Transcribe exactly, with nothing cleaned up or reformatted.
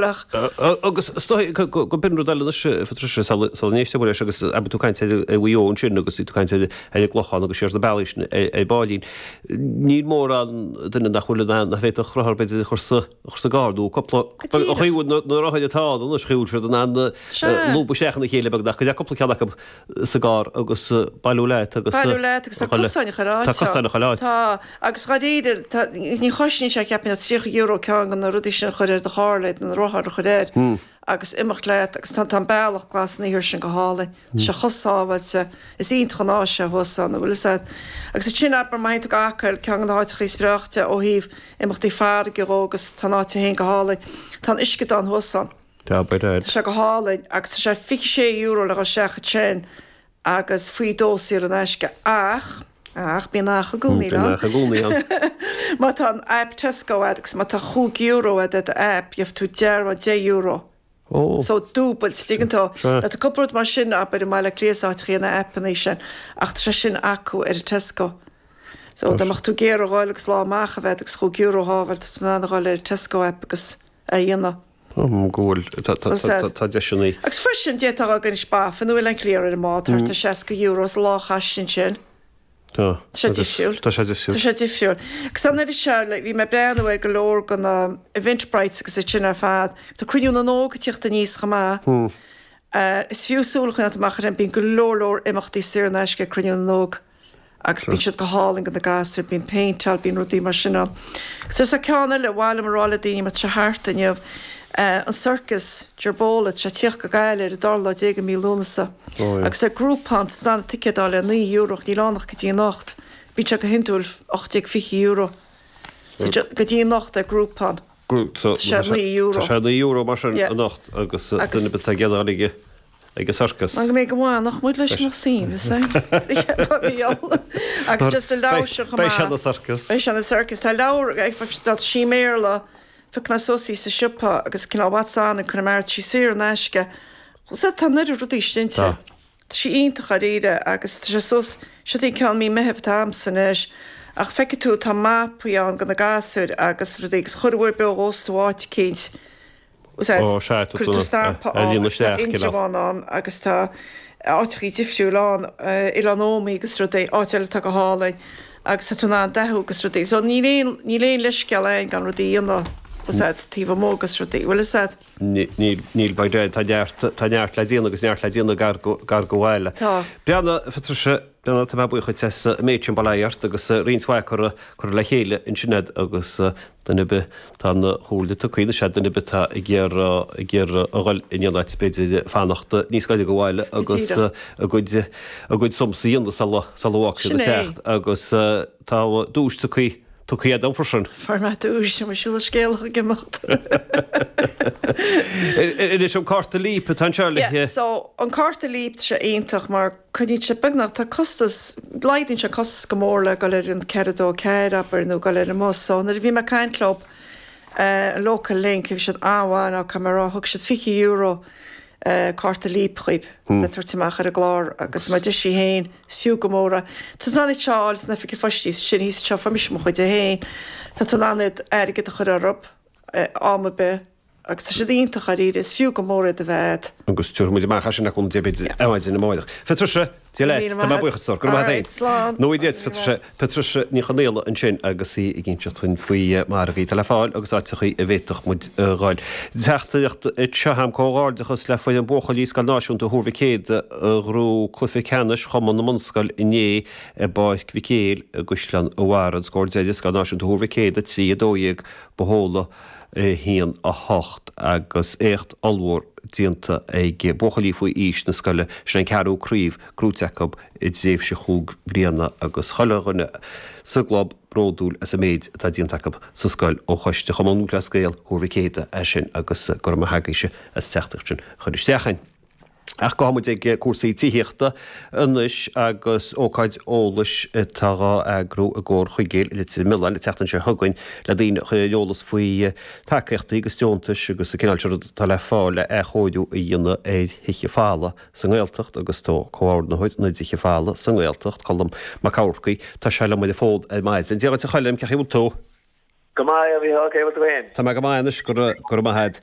Ach. Agus is dóigh go b'in rud eile anois, a Phatricia, sula n-éisteoidh muid leis agus abair tú ag caint ar Mhaigh Eo ansin agus tú ag caint ar an gClochán agus siar na bealaí sin ar baillín. Níl mórán duine nach bhfuil in ann, nach bhféadfadh rothar b'fhéidir a chur sa chur sa gcarr nó cúpla, an chaoi a bhfuil na rothair atá ann anois, chaoi a bhfuil siad in ann lúbadh isteach ina chéile beagnach, go dtí cúpla ceann acu sa gcarr agus bailiú leat agus. Bailiú leat agus tá cosáin chuile áit. Tá cosáin chuile áit. Tá, agus dháiríre, tá, ní chosnaíonn sé cheapfainn ach tríocha euro ceann de na rudaí sin a chur ar do charr le na rothair a chur air agus imeacht leat agus tá, tá an bealach glas an iarthair sin go hálainn. Tá sé chomh sábháilte. Is iontach an áis é thuas ann, an bhfuil fhios a'd. Agus ansin abair má théann tú go Acaill, ceann de na háiteachaí is breáichte ó thaobh imeachtaí farraige dhó agus tá an áit féin go hálainn. Tá an uisceadán thuas ann. Tá, by dad. Tá sé go hálainn agus tá sé fiche sé euro le dhul isteach ansin agus faoi dó saor in aisce ach, ach, bíonn ach i gcónaí Bíonn ach i gcónaí ann. Má tá an aip Tesco a'd agus má tá chúig euro a'd ar do aip, gheobhaidh tú dearbhán deich euro. Ó. So dúbailt, tuigeann tú. Sea. Tá cúpla rud mar sin, abair, i mBaile Átha Cliath is áiteachaí na aipeanna sin ach tá sé sin acu ar an Tesco. So dá mbeadh tú ag iarraidh a dhul agus lá amach a bheith agus chúig euro a shábháil, tá tú in ann a dhul ar an Tesco aip agus é a dhéanamh. Go bhfuil, tá deiseanna. Agus freisin, d'fhéadfá a dhul go Inis Bafin nó Oileán Cliar ar an mbád, thart ar seasca euro is lá a chaitheamh ansin. Tá. Tá sé difriúil. Tá sé difriúil. Tá sé difriúil. Agus an oiread seo, like, bhí mé ag breathnú ar go leor de na Eventbrites agus iad sin ar fad. Tá Cruinniú na nÓg ag tíocht aníos chomh maith. Is fiú súil a choinneáilt amach ar sin, bíonn go leor leor imeachtaí saor in aisce ag Cruinniú na nÓg. Agus bíonn siad go hálainn do na gasúir, bíonn péinteáil, bíonn rudaí mar sin ann. Agus tá ceann eile, ar mhaith liom a rá le daoine mar tá sé thart inniu, an Circus Gerbola, tá sé ag tíocht go Gaillimh ar an dara lá déag de mhí Lúnasa. Agus ar Groupon, tá tú in ann ticéad a fháil ar naoi euro ach níl ann ach go dtí anocht. Bíonn sé go hiondúil ocht déag fiche euro. So go dtí anocht ar Groupon. Tá sé naoi euro. Tá sé naoi euro mar sin anocht agus duine ar bith atá ag iarraidh a dhul ag ag an sorcas. Mar go mbeidh go maith nach muid leis an suim is é. Agus just a leabhar seo chomh Beidh sé maith. ina sorcas. Beidh sé ina sorcas. Tá leabhar tá sí i mBéarla, phioc mé suas í sa siopa agus cineál What's On in Connemara, tá sí saor in aisce. So tá an oiread rudaí istigh inti. Tá. Tá sí iontach dáiríre agus tá sé suas, seo í ceann mí Meitheamh atá a'msa anois ach feicfidh tú tá mapaí ann do na gasúir agus rudaí agus chuile uair beo dhós tú áit eicínt. Ó, sea, tá Cuirfidh tú stampa a ann líonadh agus tá isteach, cineál. Indreabhán ann agus tá áiteachaí difriúil ann, Oileán Ómaí agus rudaí, áit eile atá go hálainn agus tá tú in ann dathú agus rudaí. So níl aon, níl aon leithscéal ann gan rudaí a dhéanamh, bhfuil 's a'd, taobh amuigh agus rudaí, bhfuil 'fhios a'd? Níl, níl, by dad, tá neart, tá neart le déanamh agus neart le déanamh gar go, gar go bhaile. Tá. Breathnaigh, a Phatricia, breathnaigh, tá mé buíoch dhuit as an méid sin, bail ó Dhia ort agus roinnt mhaith curtha, curtha le chéile ansin a'd agus, Duine ar bith tá an chomhairle tugtha anois a'd, duine ar bith atá ag iarraidh ag iarraidh a dhul in aon áit b'fhéidir fanacht níos gaire go bhaile agus a gcuid a gcuid sums a dhéanamh sula sula bhfágfaidh siad Sin an é. teach agus tá duais tugtha tugtha a'd dom freisin. Fuair mé duais, tá mé siúl scéalach ag imeacht. Anois an cárta Leap atá anseo le Yeah, so an cárta Leap tá sé iontach mar coinníonn sé beagnach, tá costas, laghdaíonn sé costas go mór le dul ar an ceithre dó ceathair abair nó dul ar an mbus. So nuair a bhí mé ag caint leo, an Local Link, bhí siad an-mhaith now caithfidh mé a rá, thug siad fiche euro cárta Leap dhaoib le tabhairt amach ar an gclár agus mar a deir sí féin, is fiú go mór é. Tá tú in ann iad seo a fháil san oifig phoist sin thíos anseo, fuair mise mo chuid féin. Tá tú in ann iad airgead a chur orthu am ar bith. Agus tá siad iontach dáiríre, is fiú go mór iad a bheith a'd. Agus tabharfaidh muid amach as sin le cúnamh Dé b'fhéidir ar maidin amárach. Patricia, Dia leat, tá mé buíoch duit, go raibh maith agat féin. Nó Dia duit, Patricia, Patricia Ní Chonaola ansin agus í ag inseacht dúinn faoi margaí atá le fáil agus áiteachaí a bhféadfadh muid a dhul. Teachtaireacht anseo a'm, comhghairdeachas le foireann buachaillí Scoil Náisiúnta Thuar Mhic Éadaigh a ghnóthaigh cluiche ceannais Chumann na mBunscol inné i bPáirc Mhic Éil i gCaisleán an Bharraigh. An scór deiridh, Scoil Náisiúnta Thuar Mhic Éadaigh trí a dó dhéag, Bohola. a haon a hocht agus éacht ollmhór déanta ag buachaillí faoi aois na scoile, sin an ceathrú craobh gnóite acu i dtréimhse chúig bliana agus chuile dhuine sa gclub bródúil as an méid atá déanta acu sa scoil ó choiste Chumann Lúthchleas Gael Thuar Mhic Éadaigh é sin agus go raibh maith agaibhse as teachtaireacht sin a chur isteach chugainn. Ach gabhfaidh muid ag cúrsaí tithíochta anois agus ócáid eolais atá dhá eagrú i gComhar Chuigéil i Leitir Mealláin an tseachtain seo chugainn le daoine a chur ar an eolas faoi tacaíochtaí agus deontais agus an cineál seo rud atá le fáil le athchóiriú a dhéanamh ar thithe folamha sa nGaeltacht agus tá comhordaitheoir na dtithe folamha sa nGaeltacht, Colm Mac Eamharcaigh, tá sé liom ar an bhfón ar maidin. Dia dhuit a Choilm, cén chaoi a bhfuil tú? Go maith, a Mhícheál, cén chaoi a bhfuil tú féin? Tá mé go maith anois, go raibh maith agat.